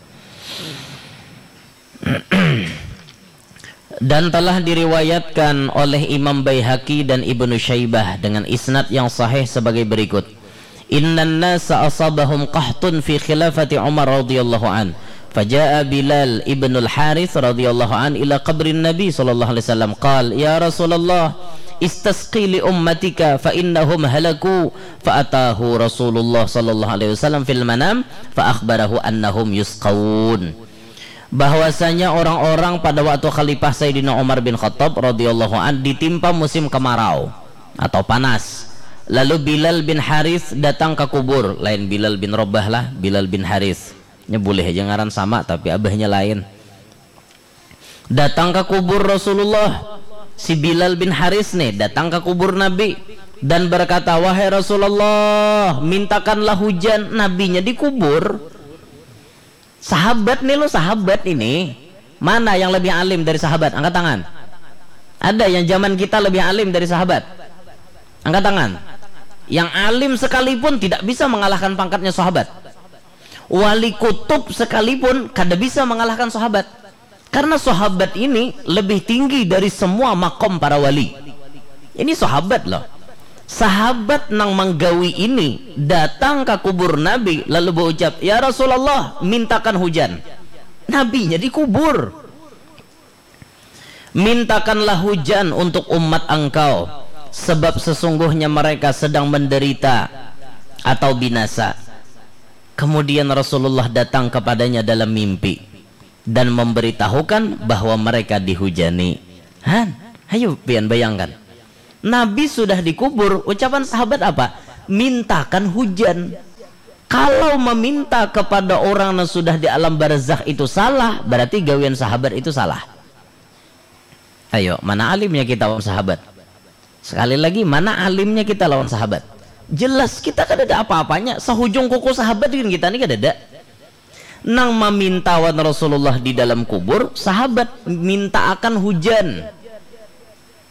Dan telah diriwayatkan oleh Imam Baihaqi dan Ibnu Syaibah dengan isnad yang sahih sebagai berikut. Innan nasa asabahum qahtun fi khilafati Umar radhiyallahu an. Faja'a Bilal ibnul Harith radhiyallahu an ila qabrin Nabi sallallahu alaihi wasallam. Qal, "Ya Rasulullah, istasqi li ummatika fa innahum halaku." Fa atahu Rasulullah sallallahu alaihi wasallam fil manam fa akhbarahu annahum yusqaun. Bahwasanya orang-orang pada waktu Khalifah Sayyidina Umar bin Khattab radhiyallahu an ditimpa musim kemarau atau panas. Lalu Bilal bin Harith datang ke kubur, lain Bilal bin Rabah lah, Bilal bin Harith. Nya boleh aja ngaran sama tapi abahnya lain. Datang ke kubur Rasulullah, si Bilal bin Haris nih datang ke kubur Nabi dan berkata, "Wahai Rasulullah, mintakanlah hujan." Nabinya dikubur. Sahabat nih lo, sahabat ini. Mana yang lebih alim dari sahabat? Angkat tangan. Ada yang zaman kita lebih alim dari sahabat? Angkat tangan. Yang alim sekalipun tidak bisa mengalahkan pangkatnya sahabat. Wali kutub sekalipun kada bisa mengalahkan sahabat. Karena sahabat ini lebih tinggi dari semua makom para wali. Ini sahabat loh. Sahabat nang manggawi ini datang ke kubur Nabi lalu berucap, "Ya Rasulullah, mintakan hujan." Nabinya dikubur. "Mintakanlah hujan untuk umat engkau, sebab sesungguhnya mereka sedang menderita atau binasa." Kemudian Rasulullah datang kepadanya dalam mimpi dan memberitahukan bahwa mereka dihujani. Han, ayo pian bayangkan. Nabi sudah dikubur, ucapan sahabat apa? Mintakan hujan. Kalau meminta kepada orang yang sudah di alam barzakh itu salah, berarti gawian sahabat itu salah. Ayo, mana alimnya kita lawan sahabat? Sekali lagi, mana alimnya kita lawan sahabat? Jelas kita kada ada apa-apanya, sahujung kuku sahabat dengan kita ni kada ada. Nang maminta wan Rasulullah di dalam kubur, sahabat minta akan hujan.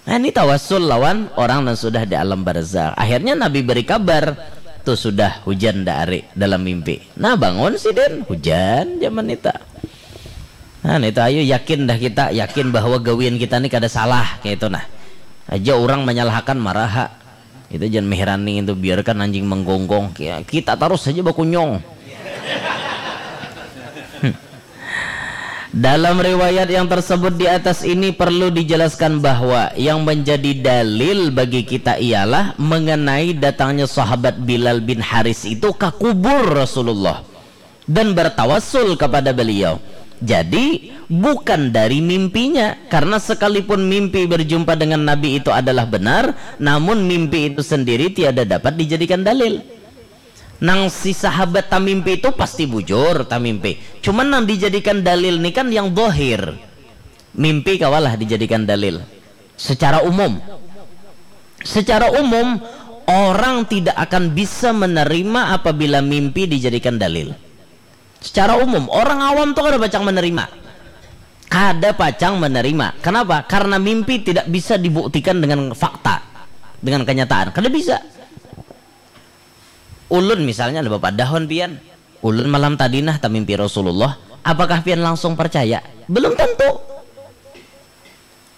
Nah, ini tawassul lawan orang yang sudah di alam barzakh. Akhirnya Nabi beri kabar, tuh sudah hujan dah ari dalam mimpi. Nah, bangun sidin, hujan zaman itu. Nah, itu ayo yakin dah kita, yakin bahwa gawian kita ni kada salah, kayak itu nah. Aja orang menyalahkan maraha. Itu jangan meherani itu, biarkan anjing menggonggong. Ki-, kita terus saja bakunyong. Dalam riwayat yang tersebut di atas ini perlu dijelaskan bahwa yang menjadi dalil bagi kita ialah mengenai datangnya sahabat Bilal bin Haris itu ke kubur Rasulullah dan bertawassul kepada beliau. Jadi, bukan dari mimpinya, karena sekalipun mimpi berjumpa dengan Nabi itu adalah benar, namun mimpi itu sendiri tiada dapat dijadikan dalil. Nang si sahabat tamimpi itu pasti bujur tamimpi. Cuman nang dijadikan dalil ni kan yang dohir. Mimpi kawalah dijadikan dalil. Secara umum. Secara umum, orang tidak akan bisa menerima apabila mimpi dijadikan dalil. Secara umum, orang awam tuh kada pacang menerima. Kada pacang menerima. Kenapa? Karena mimpi tidak bisa dibuktikan dengan fakta, dengan kenyataan. Kada bisa. Ulun misalnya ada bapadah wan pian. Ulun malam tadi nah tamimpi Rasulullah. Apakah pian langsung percaya? Belum tentu.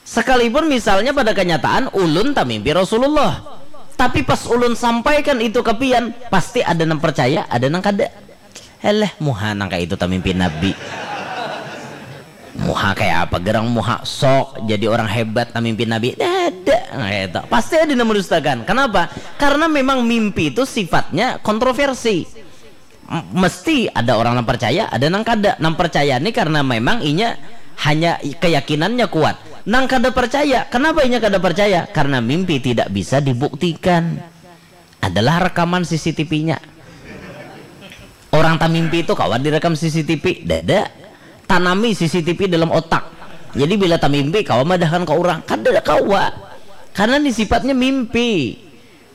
Sekalipun misalnya pada kenyataan ulun tamimpi Rasulullah. Tapi pas ulun sampaikan itu ke pian, pasti ada nang percaya, ada nang kada. Eleh, muha nang kayak itu tamimpi Nabi. Muha kayak apa gerang muha sok jadi orang hebat tamimpi Nabi. Ada kayak itu. Pasti ada yang mendustakan. Kenapa? Karena memang mimpi itu sifatnya kontroversi. M- mesti ada orang yang percaya, ada nang kada. Nang percaya ni karena memang inya hanya i- keyakinannya kuat. Nang kada percaya, kenapa inya kada percaya? Karena mimpi tidak bisa dibuktikan. Adalah rekaman C C T V-nya. Orang tamimpi itu kawa direkam C C T V, dada. Tanami C C T V dalam otak. Jadi bila tamimpi kawa madahkan ke orang, kada kawa. Karena ini sifatnya mimpi.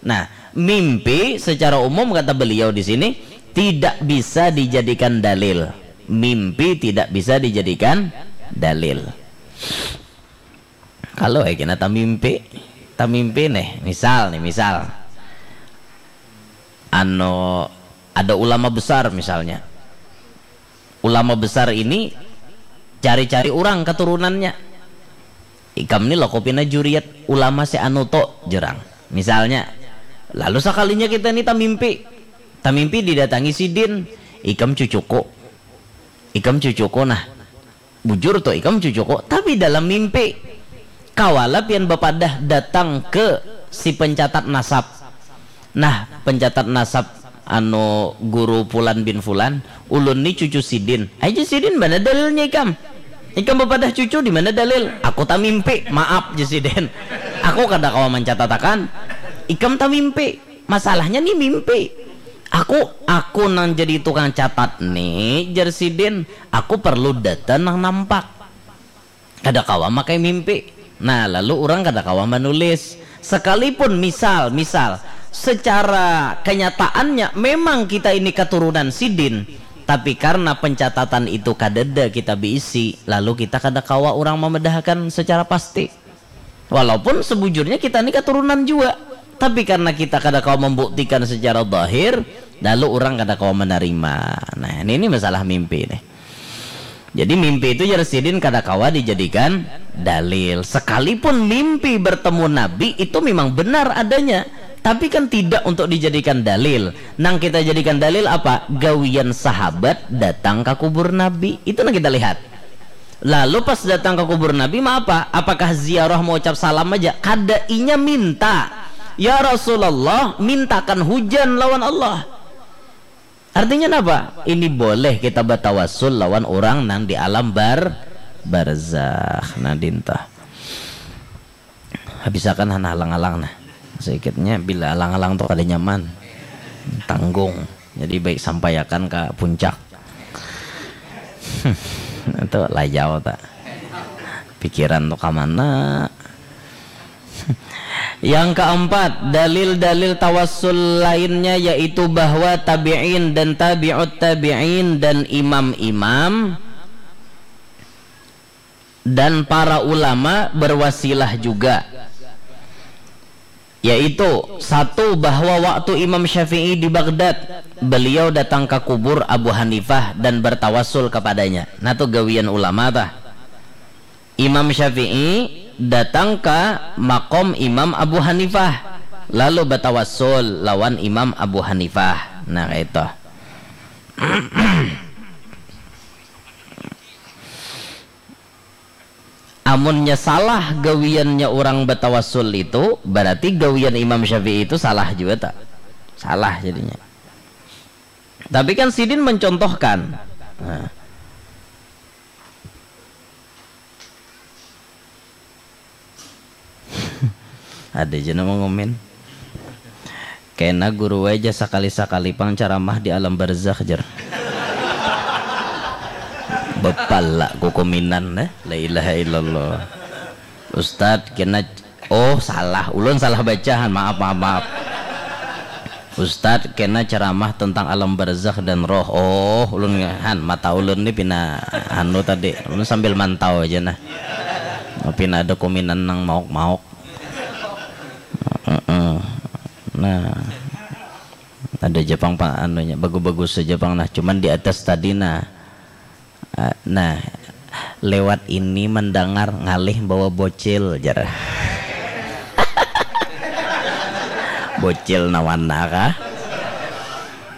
Nah, mimpi secara umum kata beliau di sini tidak bisa dijadikan dalil. Mimpi tidak bisa dijadikan dalil. Kalau eh kena tamimpi, tamimpi nih, misal nih, misal. Ano ada ulama besar misalnya. Ulama besar ini cari-cari orang keturunannya. Ikam ni loko pina juriat ulama si anu to, jerang. Misalnya, lalu sekalinya kita ni tamimpi. Tamimpi didatangi sidin, ikam cucuku. Ikam cucuku nah. Bujur to ikam cucuku, tapi dalam mimpi. Kawala pian bapadah datang ke si pencatat nasab. Nah, pencatat nasab anu guru Fulan bin Fulan, ulun ni cucu sidin. Aja sidin mana dalilnya ikam? Ikam bapadah cucu di mana dalil? Aku tamimpi, maaf je sidin. Aku kada kawa mencatatakan. Ikam tamimpi. Masalahnya ni mimpi. Aku aku nang jadi tukang catat nih, jar sidin. Aku perlu data nang nampak. Kada kawa makai mimpi. Nah, lalu orang kada kawa menulis. Sekalipun misal, misal secara kenyataannya memang kita ini keturunan sidin, tapi karena pencatatan itu kadada kita beisi, lalu kita kada kawa orang memedahkan secara pasti. Walaupun sebujurnya kita ni keturunan juga, tapi karena kita kada kawa membuktikan secara zahir, lalu orang kada kawa menerima. Nah, ini, ini masalah mimpi nih. Jadi mimpi itu jar sidin kada kawa dijadikan dalil. Sekalipun mimpi bertemu Nabi itu memang benar adanya, tapi kan tidak untuk dijadikan dalil. Nang kita jadikan dalil apa? Gawian sahabat datang ke kubur Nabi. Itu nang kita lihat. Lalu pas datang ke kubur Nabi, mau apa? Apakah ziarah mau ucap salam aja? Kada, inya minta. Ya Rasulullah, mintakan hujan lawan Allah. Artinya apa? Ini boleh kita bertawasul lawan orang nang di alam bar barzakh. Nah, dintah. Habisakan hana alang-alang nah. Sedikitnya bila alang-alang tu kada nyaman. Tanggung. Jadi baik sampaiakan ka puncak. Itu layau ta. Pikiran tu ka mana? Yang keempat, dalil-dalil tawassul lainnya yaitu bahwa tabi'in dan tabi'ut tabi'in dan imam-imam dan para ulama berwasilah juga. Yaitu, satu, bahwa waktu Imam Syafi'i di Baghdad, beliau datang ke kubur Abu Hanifah dan bertawassul kepadanya. Nah, tu gawian ulama tah. Imam Syafi'i datang ke makom Imam Abu Hanifah, lalu bertawassul lawan Imam Abu Hanifah. Nah, kayak itu. Amunnya salah gawiannya orang bertawassul itu, berarti gawian Imam Syafi'i itu salah juga tak? Salah jadinya. Tapi kan sidin mencontohkan. Nah. Ada aja nama ngomen. Kena guru aja sakali-sakali pang ceramah di alam barzakh, jar. Bepala kukuminan, eh. La ilaha illallah. Ustad, kena, oh, salah. Ulun salah bacahan. Maaf, maaf, maaf. Ustad, kena ceramah tentang alam barzakh dan roh. Oh, ulun, han, mata ulun ni pina anu tadi. Ulun sambil mantau aja nah. Pina ada kuminan nang mauk-mauk. Heeh. Nah, ada aja pang pa-, anunya, bagus-bagus aja pang nah. Cuman di atas tadi nah. Ah, nah, lewat ini mendengar ngalih bawa bocil, jar. Bocil nawana kah?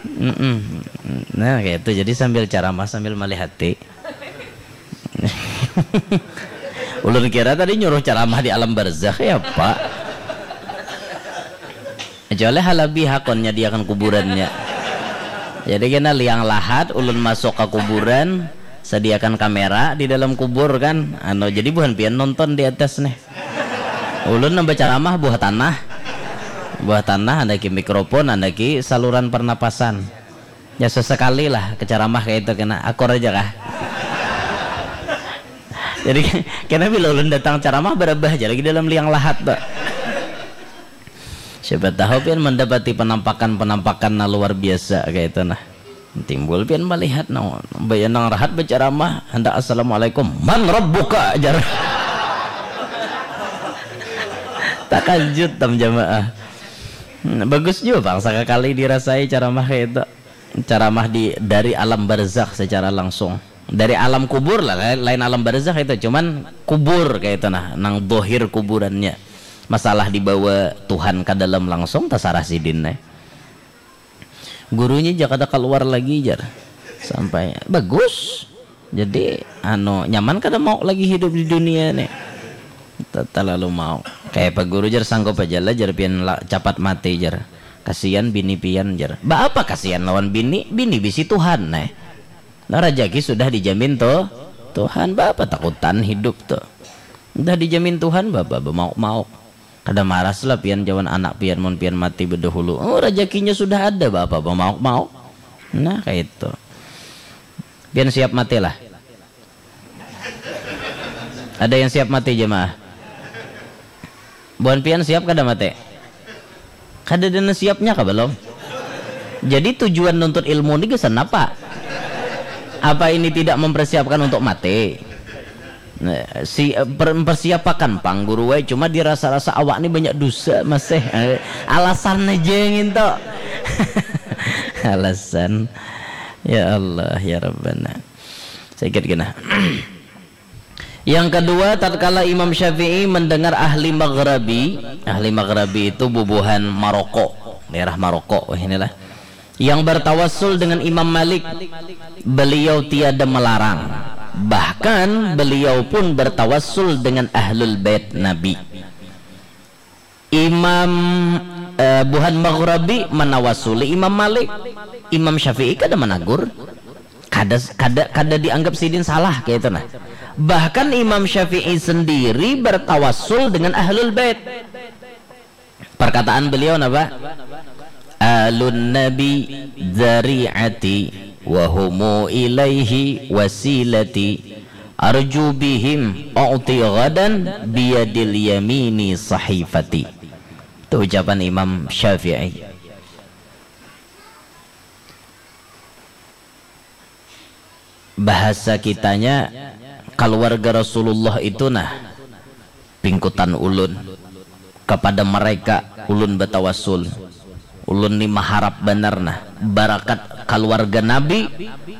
Mm-mm. Nah, kayak itu. Jadi sambil ceramah, sambil malihati. Ulun kira tadi nyuruh ceramah di alam barzakh, ya, Pak. Kecuali halabi hakon nyadiakan kuburannya. Jadi kena liang lahat, ulun masuk ke kuburan, sediakan kamera di dalam kubur kan. Anu, jadi buhan pian nonton di atas nih. Ulun nambah ceramah buah tanah. Buah tanah, andaki mikrofon, andaki saluran pernapasan. Ya, sesekali lah ke ceramah kayak itu, kena akur aja kah. Jadi kena bila ulun datang ceramah berabah aja lagi dalam liang lahat tuh. Siapa tahu pian mendapati penampakan-penampakan nah luar biasa kayak itu nah. Timbul pian melihat nah, bayanang rahat berceramah, hendak "Assalamualaikum, man rabbuka?" jar. Takajut tam jamaah. Hmm, bagus juga bang, sekali dirasai ceramah kayak itu. Ceramah di, dari alam barzakh secara langsung. Dari alam kubur lah, lain, lain alam barzakh itu, cuman kubur kayak itu nah, nang dohir kuburannya. Masalah dibawa Tuhan ke dalam langsung, terserah sidin nih. Gurunya aja kada keluar lagi, jar. Sampai bagus. Jadi, anu, nyaman kada mau lagi hidup di dunia nih. Te-, terlalu mau. Kayak apa guru, jar, sanggup aja lah, jar, pian la-, capat mati, jar. Kasihan bini pian, jar. Ba apa kasihan lawan bini? Bini bisi Tuhan, nih. Nah, rajaki sudah dijamin tuh Tuhan, ba apa takutan hidup tuh. Udah dijamin Tuhan, ba apa bamauk-mauk. Kada maras lah pian jawan anak pian mun pian mati bedahulu. Oh, rajakinya sudah ada, ba apa bamauk-mauk. Nah, kayak itu. Pian siap mati lah. Ada yang siap mati, jemaah? Buhan pian siap kada mati? Kada ada nang siapnya kah belum? Jadi tujuan nuntut ilmu ni gasan apa? Apa ini tidak mempersiapkan untuk mati? Nah, si, eh, per-, mempersiapakan pang guru wae, cuma dirasa-rasa awak ni banyak dosa masih. Eh, alasan aja yang itu. Alasan. Ya Allah, ya Rabbana. Sedikit kena. Yang kedua, tatkala Imam Syafi'i mendengar ahli Maghrabi, ahli Maghrabi itu bubuhan Maroko, daerah Maroko, wah, inilah, yang bertawassul dengan Imam Malik, beliau tiada melarang. Bahkan beliau pun bertawassul dengan ahlul bait Nabi. Imam, eh, buhan Maghrabi manawasuli Imam Malik. Imam Syafi'i kada managur. Kada, kada, kada dianggap sidin salah kayak itu nah. Bahkan Imam Syafi'i sendiri bertawassul dengan ahlul bait. Perkataan beliau napa? Alun Nabi dzari'ati wa humu ilaihi wasilati, arju bihim u'ti ghadan biyadil yamini sahifati. Itu ucapan Imam Syafi'i. Bahasa kitanya, keluarga Rasulullah itu nah pingkutan ulun. Kepada mereka ulun batawasul. Ulun ni maharap banar nah barakat keluarga Nabi,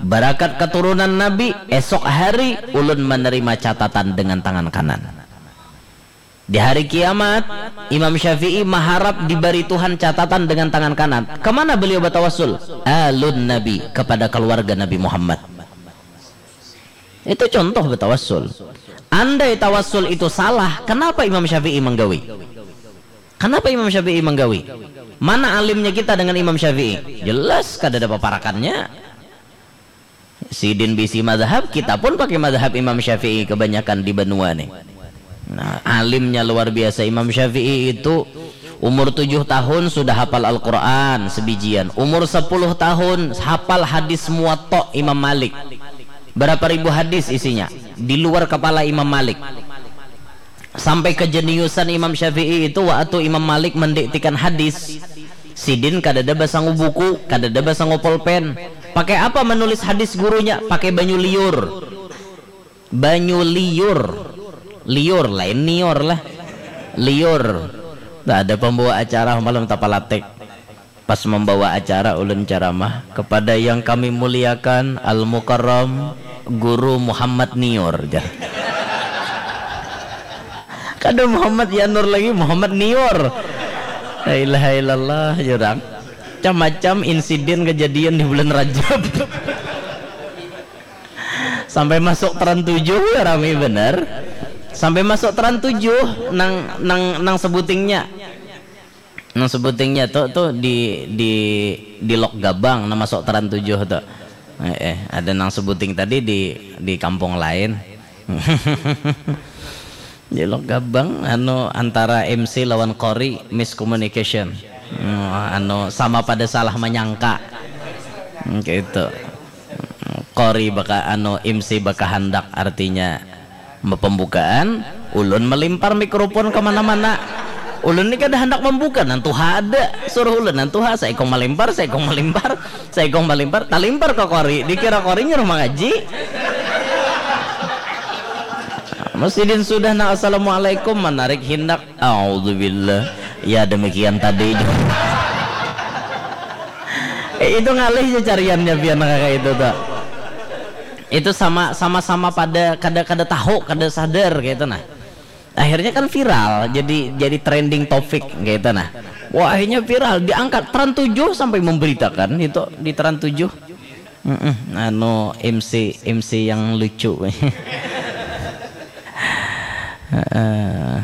barakat keturunan Nabi, esok hari ulun menerima catatan dengan tangan kanan. Di hari kiamat, Imam Syafi'i maharap diberi Tuhan catatan dengan tangan kanan. Kemana beliau batawasul? Alun Nabi, kepada keluarga Nabi Muhammad. Itu contoh batawasul. Andai tawasul itu salah, kenapa Imam Syafi'i menggawi? Kenapa Imam Syafi'i menggawi? Mana alimnya kita dengan Imam Syafi'i? Jelas kada ada paparakannya. Sidin bisi madhab, kita pun pakai madhab Imam Syafi'i kebanyakan di banua nih. Nah, alimnya luar biasa Imam Syafi'i itu. Umur tujuh tahun sudah hafal Al-Quran sebijian. Umur sepuluh tahun hafal hadis Muwatta Imam Malik. Berapa ribu hadis isinya? Di luar kepala Imam Malik. Sampai kejeniusan Imam Syafi'i itu, waktu Imam Malik mendiktikan hadis, sidin kadada basangu buku, kadada basangu pulpen. Pakai apa menulis hadis gurunya? Pakai banyu liur. Banyu liur. Liur, lain nior lah. Liur. Nah, ada pembawa acara malam tapalatik. Pas membawa acara, ulun ceramah, "Kepada yang kami muliakan, Al-Mukarram Guru Muhammad Nior," jar. Kada Muhammad Yanur lagi, Muhammad Nior. La ilaha illallah, jurang. Macam-macam insiden kejadian di bulan Rajab. Sampai masuk Trans tujuh ya rame bener. Sampai masuk Trans tujuh nang, nang, nang sebutingnya. Nang sebutingnya tu, tu di, di, di Lok Gabang, nang masuk Trans tujuh tu. Eh, eh, ada nang sebuting tadi di, di kampung lain. Di Lok Gabang, anu, antara M C lawan qori, miscommunication. Hmm, anu, sama pada salah menyangka. Hmm, gitu. Qori baka, anu, M C bakahandak, artinya pembukaan, ulun melimpar mikrofon ke mana-mana. Ulun ni kada handak membuka, nang tuha ada, suruh ulun nang tuha, saikung melimpar, saikung melimpar, saikung melimpar, talimpar ke qori, dikira qori nyuruh mangaji. Sidin sudah nang assalamualaikum, manarik hindak. A'udzubillah. Ya, demikian tadi. Eh, itu ngalih ja cariannya pian kaya itu tuh. Itu sama, sama-sama pada kada, kada tahu, kada sadar gitu nah. Akhirnya kan viral, jadi, jadi trending topic gitu nah. Wah, akhirnya viral, diangkat Trans tujuh sampai memberitakan itu di Trans tujuh. Mm-mm, anu, M C, M C yang lucu. Heeh.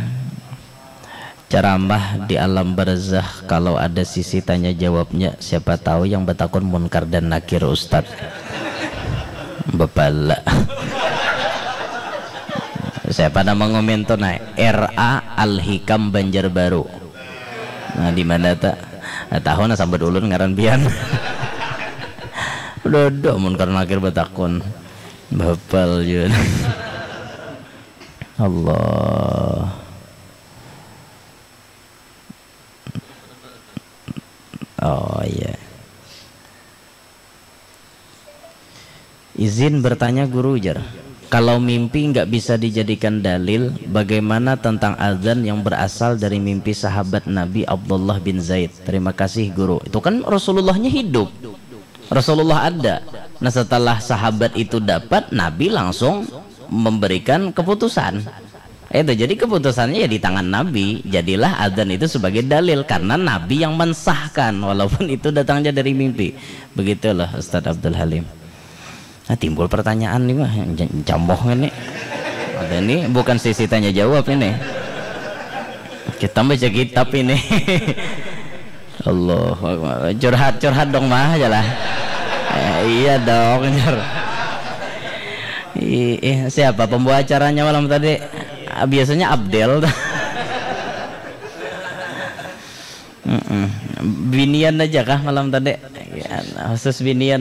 Ceramah di alam barzakh, kalau ada sisi tanya jawabnya, siapa tahu yang batakun Munkar dan Nakir, Ustaz. Bapala. Siapa nama ngomen tu, nah? R A Al Hikam Banjarbaru. Nah, di mana ta? Nah, tahu nah, sambat ulun ngaran pian. Dodo Munkar Nakir batakun. Bapal jua. Allah. Oh, iya. Izin bertanya, Guru, jar. Kalau mimpi nggak bisa dijadikan dalil, bagaimana tentang azan yang berasal dari mimpi sahabat Nabi Abdullah bin Zaid? Terima kasih, Guru. Itu kan Rasulullahnya hidup. Rasulullah ada. Nah, setelah sahabat itu dapat, Nabi langsung memberikan keputusan. Itu, jadi keputusannya ya di tangan Nabi. Jadilah azan itu sebagai dalil karena Nabi yang mensahkan, walaupun itu datangnya dari mimpi. Begitulah Ustadz Abdul Halim. Nah, timbul pertanyaan nih mah, j-, jamoh kan nih. Ada nih, bukan sesi tanya jawab ini. Kita baca kitab ini. Allahu Akbar. Curhat, curhat dong mah aja lah. Eh, iya dong, jar. Ih, ih, siapa pembawa acaranya malam tadi? Ah, biasanya Abdel. Mm-mm. Binian aja kah malam tadi? Ya, khusus binian